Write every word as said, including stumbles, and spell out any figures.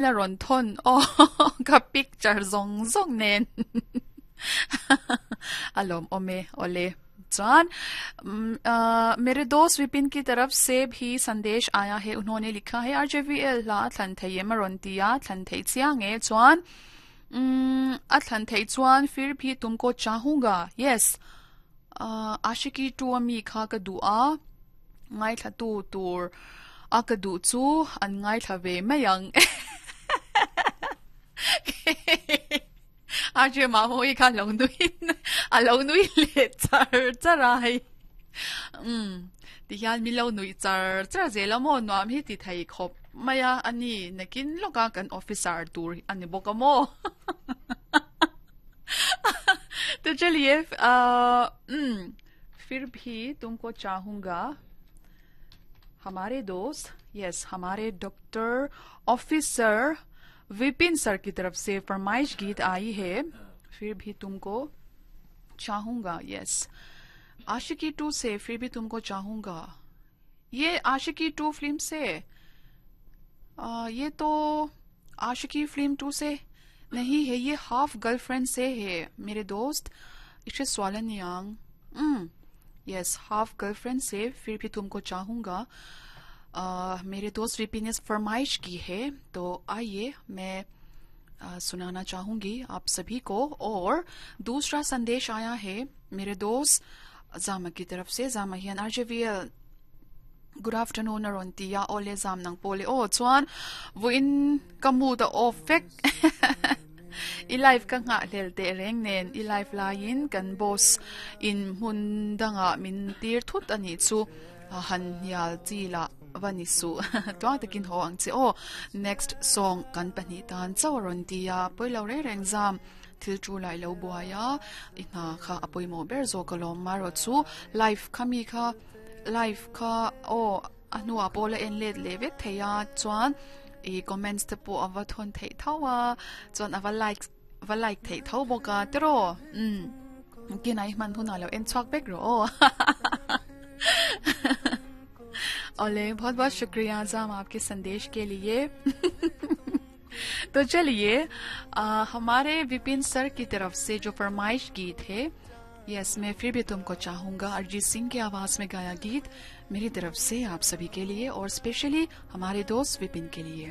La rawn thawn aw ka picture zawng zawng nen a lawmawm e awle chuan mere dost Vipin ki taraf se bhi sandesh aaya hai unhone likha hai R J V L hla a thlan thei em a rawn ti a thlan thei chiang e chuan a thlan thei chuan fir bhi tumko chahunga yes Aashiqui two ami kha ka duh a ngaithla tu tur a ka duh chu an ngaithla ve mai ang R J Mahmui kha lo nui a lo nui leh char char a hei umm tihian min lo nuih char char zel a maw nuam hi ti thei khawp mai a ani nakin lawka kan officer tur a ni bawk a maw to chaliye umm fir bhi tumko chahunga hamare dost yes hamare doctor officer Vipin sir की तरफ से फरमाइश गीत आई है फिर भी तुमको चाहूंगा yes Aashiqui to से फिर भी तुमको चाहूंगा ये आशिकी टू फिल्म से आ, ये तो आशिकी फिल्म टू से नहीं है ये हाफ गर्लफ्रेंड से है मेरे दोस्त इसे स्वालन यांग yes half girlfriend से फिर भी तुमको चाहूंगा आ, मेरे दोस्त विपिन ने फरमाइश की है तो आइए मैं आ, सुनाना चाहूंगी आप सभी को और दूसरा संदेश आया है मेरे दोस्त जामा की तरफ से Jama hian R J V L good afternoon a rawn ti a awle zam nang pawh le aw chuan vawiin ka mood a off vek i live ka nghah hlel teh reng nen i live laiin kan boss in hmun dangah min tir thut a nih chu han hnial chi lah va ni suh tluang takin haw ang che aw next song kan pahnih tan chauh a rawn ti a pawilo reng reng zam thil chu lai lo buai a i hna kha a pawimawh ber zawk alawm marawh chu live kha mi kha live kha aw a hnuah pawh la en let leh vek thei a chuan i comments te pawh a va thawn theih tho a chuan a va like va like theih tho bawk a tiraw umm kinah i hman hunah lo en chhuak vek rawh aw ओले बहुत बहुत शुक्रिया जाम आपके संदेश के लिए तो चलिए आ, हमारे विपिन सर की तरफ से जो फरमाइश गीत है यस मैं फिर भी तुमको चाहूंगा अरिजीत सिंह की आवाज में गाया गीत मेरी तरफ से आप सभी के लिए और स्पेशली हमारे दोस्त विपिन के लिए।